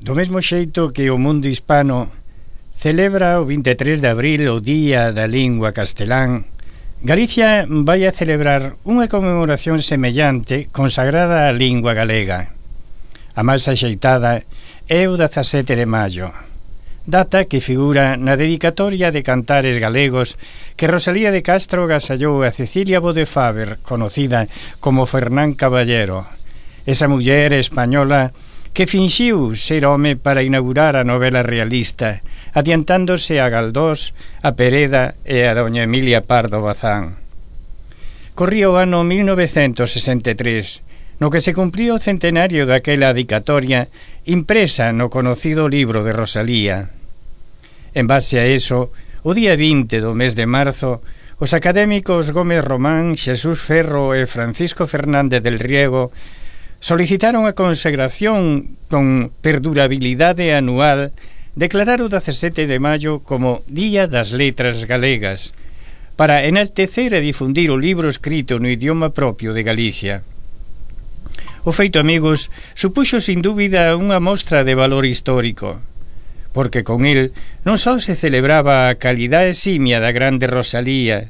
Do mesmo xeito que o mundo hispano celebra o 23 de abril o Día da Lingua Castelán, Galicia vai a celebrar unha conmemoración semellante consagrada á lingua galega. A máis axeitada é o 17 de maio, data que figura na dedicatoria de cantares galegos que Rosalía de Castro gasallou a Cecilia Bodefaber, conocida como Fernán Caballero, esa muller española que finxiu ser home para inaugurar a novela realista, adiantándose a Galdós, a Pereda e a doña Emilia Pardo Bazán. Corría o ano 1963, no que se cumplía o centenario daquela dedicatoria impresa no conocido libro de Rosalía. En base a eso, o día 20 do mes de marzo, os académicos Gómez Román, Xesús Ferro e Francisco Fernández del Riego solicitaron a consagración con perdurabilidade anual, declarar o 17 de maio como Día das Letras Galegas, para enaltecer e difundir o libro escrito no idioma propio de Galicia. O feito, amigos, supuxo sin dúbida unha mostra de valor histórico, porque con el non só se celebraba a calidade eximia da grande Rosalía,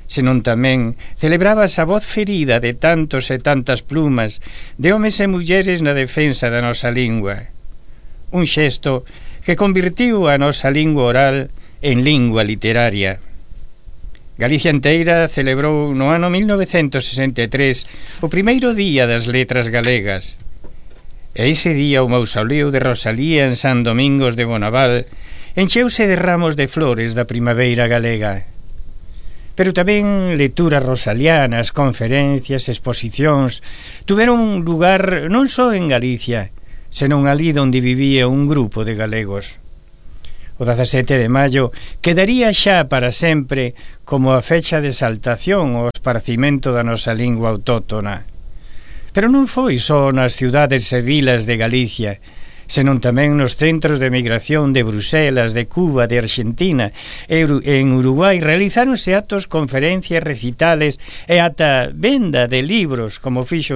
senón tamén celebraba a voz ferida de tantos e tantas plumas de homes e mulleres na defensa da nosa lingua. Un xesto que convirtiu a nosa lingua oral en lingua literaria. Galicia inteira celebrou no ano 1963 o primeiro Día das Letras Galegas. E ese día o mausoleo de Rosalía en San Domingos de Bonaval encheuse de ramos de flores da primavera galega. Pero tamén lecturas rosalianas, conferencias, exposicións tuveron lugar non só en Galicia, senón ali onde vivía un grupo de galegos. O 17 de maio quedaría xa para sempre como a fecha de exaltación ao esparcimento da nosa lingua autóctona. Pero non foi só nas ciudades e vilas de Galicia, senón tamén nos centros de migración de Bruselas, de Cuba, de Argentina e en Uruguai realizáronse actos, conferencias, recitales e ata venda de libros, como fixo